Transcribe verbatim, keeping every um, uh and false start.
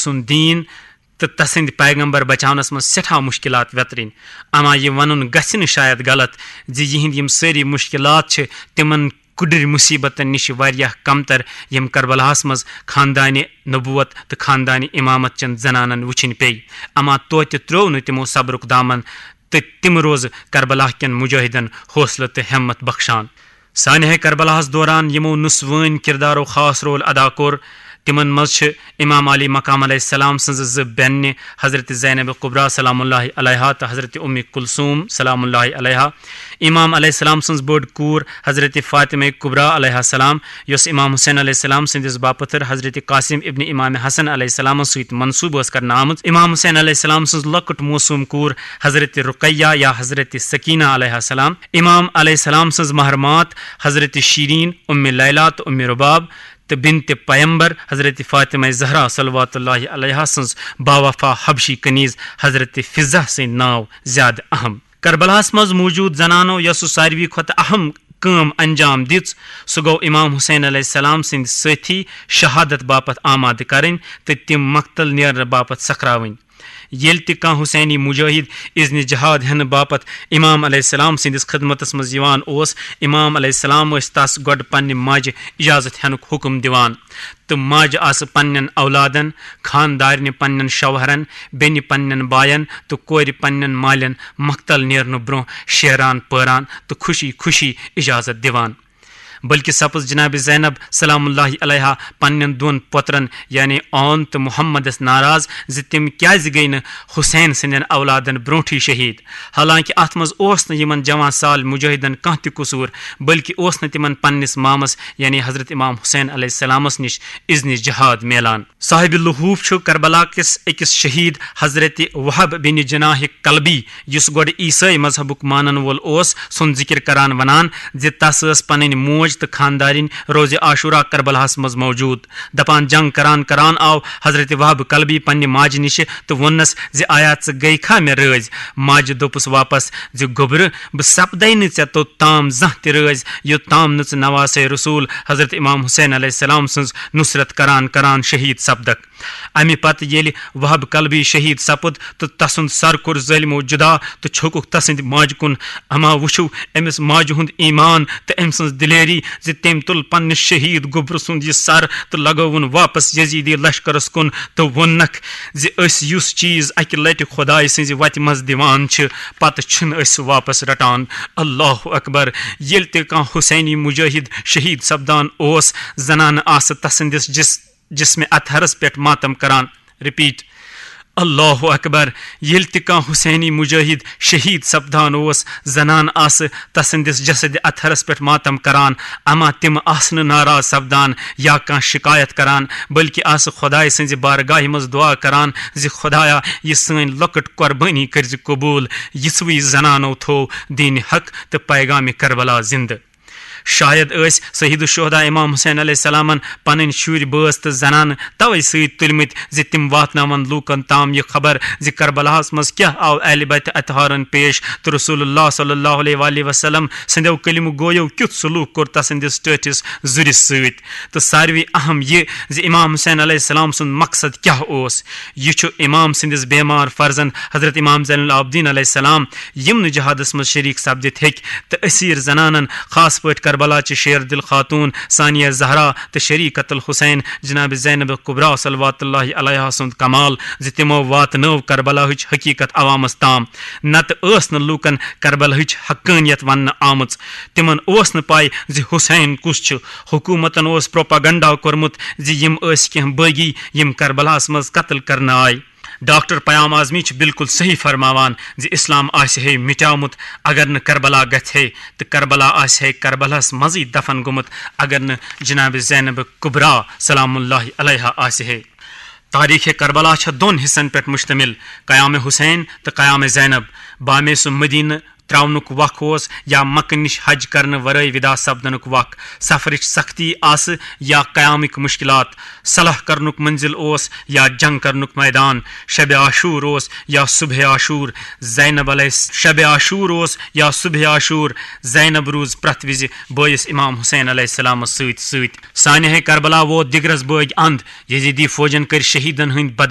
سُنٛد دیٖن تہٕ تسٕنٛدۍ پیغمبر بچاونس منٛز سٮ۪ٹھاہ مُشکِلات ویترٕنۍ۔ اما یہِ ونُن گژھِ نہٕ شاید غلط زِ یِہنٛدۍ یِم سٲری مُشکِلات چھِ تِمن کُڈٕرۍ مُصیبتن نِش واریاہ کمتر، یِم کربلاہس منٛز خاندانِ نبوت تہٕ خاندانِ امامت چٮ۪ن زنانن وٕچھِنۍ پیٚیہِ۔ اما توتہِ ترٛوو نہٕ تِمو صبرُک دامن تہٕ تِم روزٕ کربلا کٮ۪ن مجاہدن حوصلہٕ تہٕ ہمت بخشان۔ سانحہ کربلاہس دوران یِمو نسوٲنۍ کردارو خاص رول ادا کوٚر، تِمن منٛز چھِ امام علی مقام علیہ السلام سٕنٛزٕ زٕ بیٚنہِ، حضرت زینب کبریٰ سلام اللہ علیہا تہٕ حضرت ام کلثوم سلام اللہ علیہا، امام علیہ السلام سٕنٛز بٔڑ کوٗر حضرت فاطمہ کبریٰ علیہا السلام، یۄس امام حسین علیہ السلام سٕنٛدِس باپتھٕر حضرت قاسم ابن امام حسن علیہ السلامس سۭتۍ منسوب ٲس کرنہٕ آمٕژ، امام حسین علیہ السلام سٕنٛز لۄکٕٹ معصوم کوٗر حضرت رقیہ یا حضرت سکینہ علیہا السلام، امام علیہ السلام سٕنٛز مہرمات حضرت شیرین، ام لیلیٰ تہٕ ام رباب، تہٕ بنت پیمبر حضرت فاطمہ زہرا صلوات اللہ علیہا سٕنٛز باوفا حبشی کنیز حضرت فضہ سٕنٛدۍ ناو زیادٕ اہم۔ کربلاہس منٛز موجود زنانو یۄس ساروی کھۄتہٕ اہم کٲم انجام دِژ، سُہ گوٚو امام حسین علیہ السلام سٕنٛدۍ سٲتھی شہادت باپتھ آمادٕ کرٕنۍ تہٕ تِم مقتل نیرنہٕ باپتھ سکھراوٕنۍ۔ ییٚلہِ تہِ کانٛہہ حسینی مجاہد اذنِ جہاد ہٮ۪نہٕ باپتھ امام علیہ السلام سٕنٛدِس خدمتس منٛز یِوان اوس، امام علیہ السلام ٲسۍ تس گۄڈٕ پننہِ ماجہِ اجازت ہٮ۪نُک حکم دِوان، تہٕ ماجہِ آسہٕ پننٮ۪ن اولادن، خاندارنہِ پننٮ۪ن شوہرن، بیٚنہِ پننٮ۪ن باین تہٕ کورِ پننٮ۪ن مالٮ۪ن مقتل نیرنہٕ برونٛہہ شیران پٲران تہٕ خوشی خوشی اجازت دِوان۔ بلکہ سپٕز جناب زینب سلام اللہ علیہا پننٮ۪ن دۄن پۄترن یعنی اون تہٕ محمدس ناراض زِ تِم کیازِ گٔیہِ نہٕ حسین سٕنٛدٮ۪ن اولادن برونٛٹھٕے شہید، حالانکہ اتھ منٛز اوس نہٕ یِمن جوان سال مجاہدن کانٛہہ تہِ قصور، بلکہ اوس نہٕ تِمن پننِس مامس یعنی حضرت امام حسین علیہ السلامس نِش اذنِ جہاد میلان۔ صاحب لحوف چھُ کربلا کِس أکِس شہید حضرت وہب بن جناح کلبی، یُس گۄڈٕ عیسٲئی مذہبُک مانن وول اوس، سُنٛد ذکر کران ونان زِ تس ٲس پنٕنۍ موج تہٕ خاندارِنۍ روزِ عاشورہ کربلاہس منٛز موجود۔ دپان جنگ کران کران آو حضرت وہب کلبی پننہِ ماجہِ نِشہِ تہٕ ووٚننس زِ آیا ژٕ گٔے کھا مےٚ رٲضۍ؟ ماجہِ دوٚپُس واپس زِ گوٚبرٕ، بہٕ سپدے نہٕ ژےٚ توٚت تام زانٛہہ تہِ رٲضۍ، یوٚت تام نہٕ ژٕ نواسے رسول حضرت امام حسین علیہ السلام سٕنٛز نصرت کران کران شہید سپدکھ۔ امہِ پتہٕ ییٚلہِ وہب کلبی شہید سپُد تہٕ تسُنٛد سر کوٚر ظٲلمو جدا تہٕ چھوٚکُکھ تسٕنٛدِ ماجہِ کُن، اما وٕچھِو أمِس ماجہِ ہُنٛد ایمان تہٕ أمۍ سٕنٛز دلیری زِ تٔمۍ تُل پننِس شہید گوٚبرٕ سُنٛد یہِ سر تہٕ لگٲوُن واپس یزیدی لشکرس کُن تہٕ ووٚننکھ زِ أسۍ یُس چیز اکہِ لٹہِ خدایہِ سٕنٛزِ وتہِ منٛز دِوان چھِ، پتہٕ چھِنہٕ أسۍ سُہ واپس رٹان۔ اللہ اکبر۔ ییٚلہِ تہِ کانٛہہ حسینی مجاہد شہید سپدان اوس، زنانہٕ آسہٕ تسٕنٛدِس جس جسمِ اطہرس پٮ۪ٹھ ماتم کران۔ رپیٹ، اللہ اکبر۔ ییٚلہِ تہِ کانٛہہ حسینی مجاہد شہید سپدان اوس، زنانہٕ آسہٕ تسٕنٛدِس جسدِ اطہرس پٮ۪ٹھ ماتم کران، اما تِم آسہٕ نہٕ ناراض سپدان یا کانٛہہ شکایت کران، بلکہِ آسہٕ خدایہِ سٕنٛزِ بارگاہہِ منٛز دعا کران زِ خدایا، یہِ سٲنۍ لۄکٕٹ قربٲنی کٔرزِ قبول۔ یِژھوٕے زنانو تھوو دین حق تہٕ پیغام کربلا زندٕ۔ شاید ٲسۍ سید الشہداء امام حسین علیہ السلامن پنٕنۍ شُرۍ، بٲژ تہٕ زنانہٕ توے سۭتۍ تُلمٕتۍ زِ تِم واتناون لوٗکن تام یہِ خبر زِ کربلاہس منٛز کیاہ آو اہلِ بیت اطہارن پیش تہٕ رسول اللہ صلی اللہ علیہ وآلہ وسلم سٕنٛدیو کلمہٕ گویو کیُتھ سلوک کوٚر تسٕنٛدِس ٹٲٹھِس زُرِس سۭتۍ۔ تہٕ ساروی اہم یہِ زِ امام حسین علیہ السلام سُنٛد مقصد کیاہ اوس۔ یہِ چھُ امام سٕنٛدِس بیمار فرزند حضرت امام زین العابدین علیہ السلام، یِم نہٕ جہادس منٛز شریک سپدِتھ ہیٚکۍ، تہٕ اسیر زنانن، خاص پٲٹھۍ کربلا چہِ شیر دل خاتون ثانیہ زہرا تہٕ شریکت الحسین جناب زینب کبریٰ صلوات اللہ علیہا سُنٛد کمال زِ تِمو واتنٲو کربلاہٕچ حقیقت عوامس تام۔ نتہٕ ٲس نہٕ لوٗکن کربلاہٕچ حقانیت وننہٕ آمٕژ۔ تِمن اوس نہٕ پَے زِ حسین کُس چھُ۔ حکومتن اوس پروپیگنڈا کوٚرمُت زِ یِم ٲسۍ کینٛہہ بٲغی یِم کربلاہس منٛز قتل کرنہٕ آے۔ ڈاکٹر پیام اعظمی چھُ بالکل صحیح فرماوان زِ اسلام آسہِ ہے مٹیومُت اگر نہٕ کربلا گژھِ ہے، تہٕ کربلا آسہِ ہے کربلاہس منٛزٕے دفن گوٚمُت اگر نہٕ جناب زینب کبریٰ سلام اللہ علیہا آسہِ ہے۔ تاریخ کربلا چھےٚ دۄن حصن پٮ۪ٹھ مشتمل، قیام حسین تہٕ قیام زینب۔ بامے سُہ مدینہ ترٛاونُک وق اوس یا مکہ نِش حج کرنہٕ ورٲے ودا سپدنُک وق۔ سفرٕچ سختی آسہٕ یا قیامٕکۍ مُشکِلات، صلح کرنُک منزل اوس یا جنگ کرنُک میدان، شب عاشور اوس یا صبح عاشور۔ زینب علیہ شب عاشور اوس یا صبح عاشور۔ زینب روٗز پرٛٮ۪تھ وِزِ بٲیِس امام حسین علیہ السلامس سۭتۍ سۭتۍ۔ سانحہ کربلا ووت دِگرس بٲگۍ اند۔ یزیدی فوجن کٔرۍ شہیدن ہٕنٛدۍ بدن